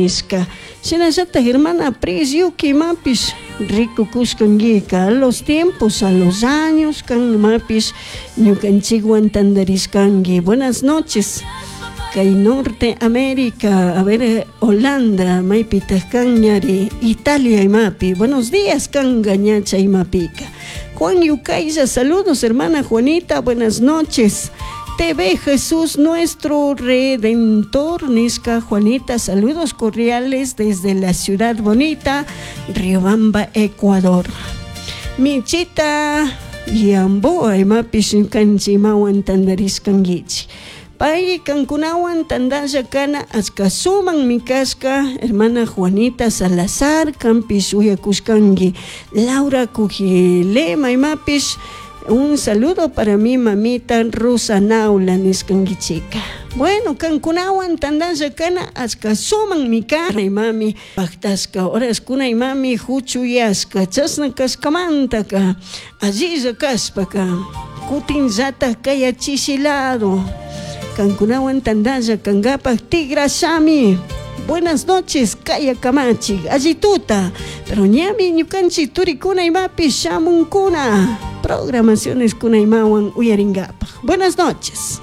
Nishka. Shinallatak hermana Preciuki imapish rikukushkanguika a los tiempos, a los años kan imapish ñukanchikwan tandarishkanki. Buenas noches. Kay Norte América, a ver, Holanda, maypitak kan ñari, Italia imapi. Buenos días kanka ña chay imapika. Juan Yucaylla, saludos hermana Juanita, buenas noches. TV Jesús nuestro Redentor, Nisca Juanita, saludos cordiales desde la ciudad bonita, Riobamba, Ecuador. Michita Yamboa, imapish ñukanchik imawan tandarishkankichik. Pay kankunawan tandalla kana achka suman kashka hermana Juanita Salazar kanpish uyakushkanki Laura Cujilema imapish un saludo para mi mamita Rosa Naula nishkankichika. Bueno, kankunawan tandalla kana achka suman kana imami pactashka horaskuna imami huchuyashka chashna kashkamantaka allilla kashpaka kutinllatak kayachishi lado kankunawan tandalla kankapak tigrashami. Buenas noches, kaya kamachik, allituta. Pero ñami ñukanchik turikuna imapish shamunkuna. Programaciones kuna imawan uyarinkapak. Buenas noches.